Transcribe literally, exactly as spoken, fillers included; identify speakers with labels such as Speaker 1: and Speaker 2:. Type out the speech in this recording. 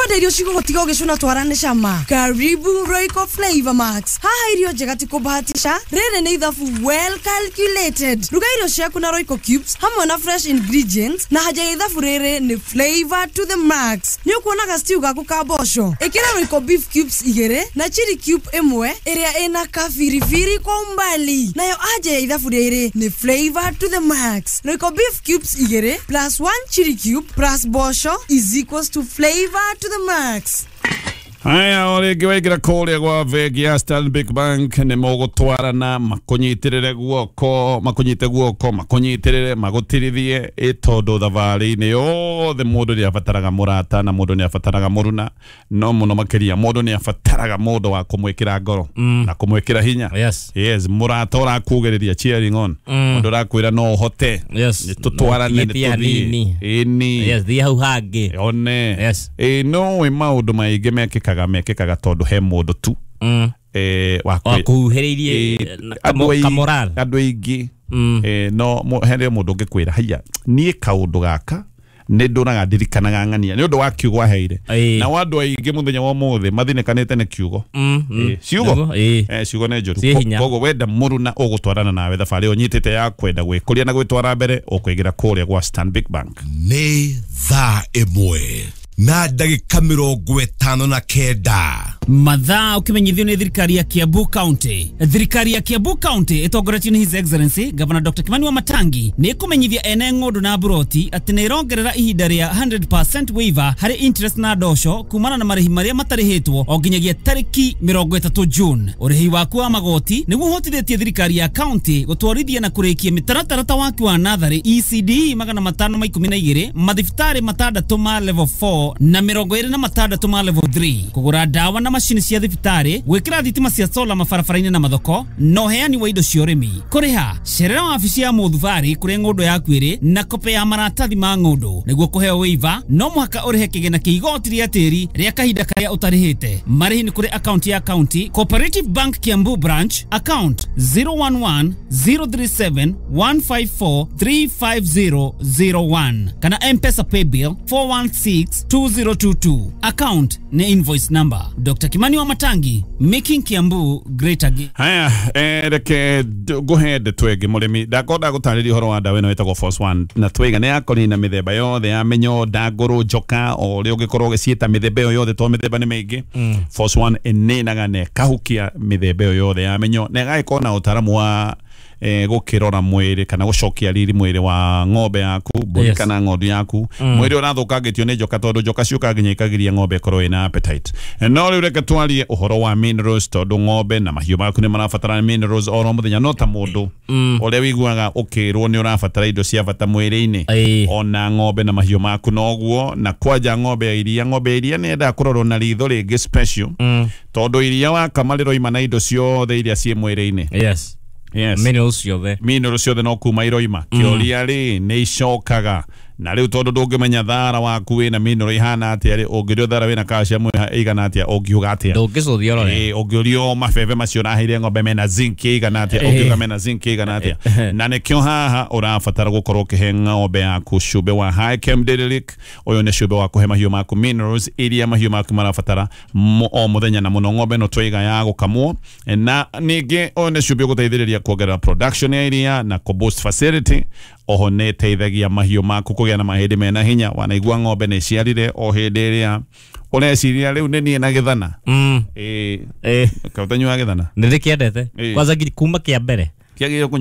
Speaker 1: Ũkwenda irio cigũgũtiga ũgĩcũna twara nĩ cama? Karibu Royco Flavor Max. Haha irio njega ti kũbahatisha, rĩrĩ nĩ ithabu well calculated. Ruga irio ciaku na Royco Cubes hamwe na fresh ingredients, na haja ya ithabu rĩrĩ nĩ flavor to the max. Nĩ ũkuonaga stew gaku ka mboco, ĩkĩra Royco beef cubes igĩrĩ na chili cube ĩmwe ĩrĩa ĩna kabiribiri kwa umbali. Nayo anja ya ithabu rĩrĩ nĩ flavor to the max. Royco beef cubes igĩrĩ plus one chili cube plus mboco is equals to flavor to the max.
Speaker 2: Haya, o rĩngĩ waingĩra kũrĩa gwa bengi ya Stanbic Bank nĩ mũgũtwarana, makũnyitĩrĩre guoko, makũnyite guoko, makũnyitĩrĩre, magũtirithie, ĩ tondũ thabarĩ-inĩ yothe mũndũ nĩ abataraga mũrata na mũndũ nĩ abataraga mũruna, no mũno makĩria mũndũ nĩ abataraga mũndũ wa kũmwĩkĩra ngoro na kũmwĩkĩra hinya.
Speaker 3: Yes.
Speaker 2: Yes, mũrata ũrakugĩrĩria, cheering on, mũndũ ũrakwĩra no ũhote.
Speaker 3: Yes.
Speaker 2: Nĩ tũtwarane, nĩ
Speaker 3: Nĩ
Speaker 2: tũthiĩ.
Speaker 3: hanini.
Speaker 2: Ĩni.
Speaker 3: Yes, thiĩ hau hangĩ.
Speaker 2: One.
Speaker 3: Yes.
Speaker 2: Ĩ no ĩ maũndũ maingĩ mekĩkaga mekĩkaga tondũ he mũndũ tu
Speaker 3: Mm.
Speaker 2: eh, wa
Speaker 3: Wa
Speaker 2: kwĩ-
Speaker 3: kũhuhĩrĩirie
Speaker 2: eh,
Speaker 3: na
Speaker 2: andũ
Speaker 3: kamo-
Speaker 2: aingĩ-
Speaker 3: kamoral.
Speaker 2: andũ aingĩ
Speaker 3: Mm.
Speaker 2: eh, no mo- he mũndũ ũngĩkwĩra haiya, niĩ kaũndũ gaka nĩ ndũraga ndirikanaga ng'ania nĩ ũndũ wa kiugo aheire.
Speaker 3: Ĩĩ.
Speaker 2: Nao andũ aingĩ mũthenya wa ũmũthĩ mathinĩkanĩte nĩ kiugo.
Speaker 3: Mm, mm.
Speaker 2: Eh, ciugo.
Speaker 3: Nĩguo, ĩĩ.
Speaker 2: Eh, ciugo nĩ njũru.
Speaker 3: Ciĩ hinya.
Speaker 2: Koguo wenda mũruna ũgũtwarana nawe thabarĩ ĩyo ũnyitĩte ya kwenda gwĩkũria na gwĩtwara mbere, ũkũingĩra kũrĩa gwa Stanbic Bank.
Speaker 4: Nĩ thaa ĩmwe na ndagĩka mĩrongo ĩtano na kenda.
Speaker 5: Mathaa ukimenyithio nĩ thirikari ya Kiambu County. Thirikari ya Kiambu County ĩtongoretio nĩ His Excellency Governor Doctor Kimani Wamatangi nĩ ĩkũmenyithia ene ng'ũndũ na mburoti atĩ nĩ ĩrongerera ihinda rĩa one hundred percent waiver harĩ interest na ndosho kumana na marĩhi marĩa matarĩhĩtwo o nginyagia tarĩki mĩrongo ĩtatũ June. Ũrĩhi waku wa magoti nĩguo ũhotithĩtie thirikari ya county gũtwarithia na kũrĩkia mĩtaratara ta waki wa natharĩ E C D magana matano ma ikũmi na igĩrĩ, mathibitarĩ matandatũ ma level four na mĩrongo ĩrĩ na matandatũ ma level three, kũgũra ndawa na macini cia thibitarĩ, gwĩkĩra thitima cia sola mabarabara-inĩ na mathoko, na ũheani wa indo cia ũrĩmi. Kũrĩha, cerera wabici ya mũthubarĩ kũrĩa ng'ũndũ yaku ĩrĩ na kope ya maratathi ma ng'ũndũ. Nĩguo kũheo waiver no mũhaka ũrĩhe kĩgĩna kĩa igoti rĩa tĩri rĩa kahinda karĩa ũtarĩhĩte. Marĩhi nĩ kũrĩ akaunti ya county Cooperative Bank, Kiambu branch, account zero one one zero three seven one five four three five zero zero one, kana M-Pesa paybill four one six two zero two two, account nĩ invoice number. Doctor Kimani Wamatangi, making Kiambu great again.
Speaker 2: Haya, eh, reke d- ngũhe ndeto ĩngĩ. Mũrĩmi, ndakorwo ndagũtarĩria ũhoro wa ndawa ĩno ĩtagwo Force One na twaiga nĩ yakũnina mĩthemba yothe ya mĩnyoo, ndangũrũ, njoka, o ũrĩa ũngĩkorwo ũgĩciĩta mĩthemba ĩyo yothe, tondũ mĩthemba nĩ mĩingĩ. Force One ĩninaga na ĩkahukia mĩthemba ĩyo yothe ya mĩnyoo na ĩgagĩkorwo na ũtaramu wa eh, gũkĩrora mwĩrĩ kana gũcokia riri mwĩrĩ wa ng'ombe yaku, mbũri
Speaker 3: Yes.
Speaker 2: kana ng'ondu yaku, mwĩrĩ ũrathũkangĩtio nĩ njoka, tondũ njoka ciũkaga nginya ikagiria ng'ombe ĩkorwo ĩna appetite. No rĩu reke twarie ũhoro wa minerals, tondũ ng'ombe na mahiũ maku nĩ marabatara minerals oro mũthenya, no ta mũndũ ũrĩa wĩiguaga ũkĩrwo nĩ ũrabatara indo cia bata mwĩrĩ-inĩ,
Speaker 3: Ĩĩ.
Speaker 2: ona ng'ombe na mahiũ maku noguo. Na kwanja ng'ombe ya iria, ng'ombe ya iria nĩ yendaga kũrorwo na ritho rĩngĩ special, tondũ iria wakama rĩroima na indo ciothe iria ciĩ mwĩrĩ-inĩ.
Speaker 3: Yes.
Speaker 2: Yes.
Speaker 3: Minerals ciothe.
Speaker 2: Minerals ciothe no kuma iroima. Kĩũria rĩ, nĩ icokaga na rĩu, tondũ ndũngĩmenya thara waku wĩna mineral ihana atĩa rĩ, ũngĩũrio thara wĩna calcium ĩigana atĩa, ũngiuga atĩa?
Speaker 3: Ndũngĩcũthia ũrore.
Speaker 2: Ĩĩ, ũngĩũrio mabebe macio ũraheire ng'ombe mena zinc ĩigana atĩa, ũngiuga mena zinc ĩigana atĩa? Na nĩkĩo haha ũrabatara gũkorwo ũkĩhe ng'ombe yaku cumbĩ wa High Chem Dairy Lick. Ũyũ nĩ cumbĩ wa kũhe mahiũ maku minerals iria mahiũ maku marabatara mo- o mũthenya, na mũno ng'ombe ĩno twaiga ya gũkamwo. Na ningĩ ũyũ nĩ cumbĩ ũgũteithĩrĩria kuongerera production ya iria na kũ boost fertility. Oho nĩ ĩteithagia mahiũ maku kũgĩa na mahĩndĩ mena hinya. Wanaigua ng'ombe nĩ ĩciarire, o hĩndĩ ĩrĩa ũreciria rĩu nĩ niĩ na gĩthana.
Speaker 3: Mm.
Speaker 2: Ĩĩ.
Speaker 3: Ĩĩ.
Speaker 2: Kaũtanyuaga gĩthana?
Speaker 3: Nĩ ndĩkĩendete.
Speaker 2: Ĩĩ.
Speaker 3: Kwanza ngiri kuma kĩa mbere.
Speaker 2: Kĩagĩrĩirwo.